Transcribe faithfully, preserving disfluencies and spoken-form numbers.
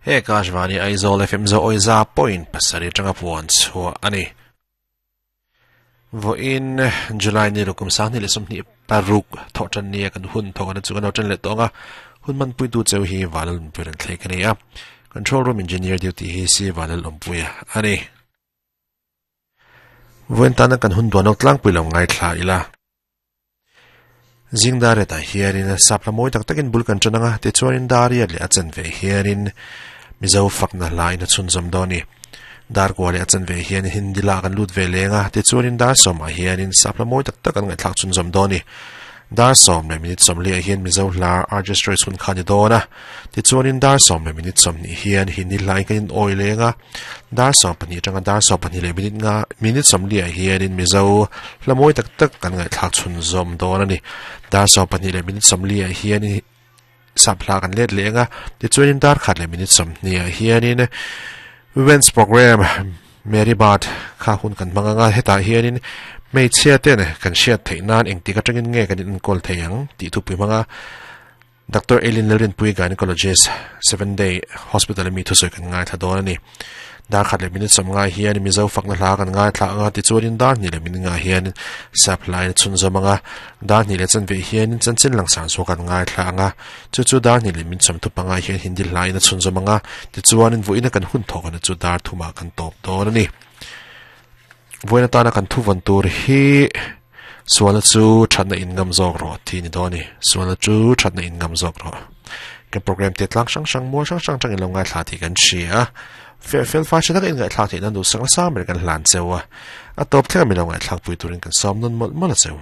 He Akashvani Aizawl F M zo oiza point pasari tanga puan chua ani. Vo in July ni rukum sang ni le som ni paruk tho chan ni kan hun tho kan chu kan chan le tonga hun man pui tu cheu hi valal puiran thlek ani a. Control room engineer duty hi si valal ompuia ani. Voin tana kan hun duanok tlang puilong ngai thla ila. Zingdare ta hianin sapla moi tak takin bul kan chananga te chuanin daria le achan ve hianin mizo fakna lain a chun zom doni dar ko le achan ve hian hindi la kan lut ve lenga te chuanin dar som a hianin sapla moi tak tak an ngai thlak chun zom doni dar som le minute som le hian mizo hla register chun khani dona te chuanin dar som le minute som ni hian hindi lai kan oi lenga dar som pani tanga dar som pani le minute nga minute som le hianin mizo hla moi tak tak kan ngai thlak chun zom dona ni dar som pani le minute som le hian sapla kan let lenga te chuanin dar khat le minute som ni hianin women's program Mary Bart kha hun kan manganga heta hianin mei chia te ne kan hriat theih nan engtik atangin nge kan in call theiang ti thu pui manga Doctor Eileen Lerin pui gynecologist seven day hospital mi thu soi kan ngai tha don ani dar khat le minute som nga hian mizo fakna hla kan ngai thla anga ti chuanin dar ni le min nga hian supply chun zomanga dar ni le chan ve hian chan chin lang sang so kan ngai thla anga chu chu dar ni le min som thu panga hian hindi line chun zomanga ti chuanin voina kan hun thokan chu dar thuma kan top don ani voina tana kan thu van tur hi suala chu thatna in ngam zok ro thi ni doni suala chu thatna in ngam zok ro ke program te tlang sang sang mo sang sang tang in lo ngai thla thi kan chia fel fel fa chha in ngai thla thi nan du sang sa mer kan hlan chewa a top thla mi lo ngai thlak pui turin kan som nun mol mol cheu.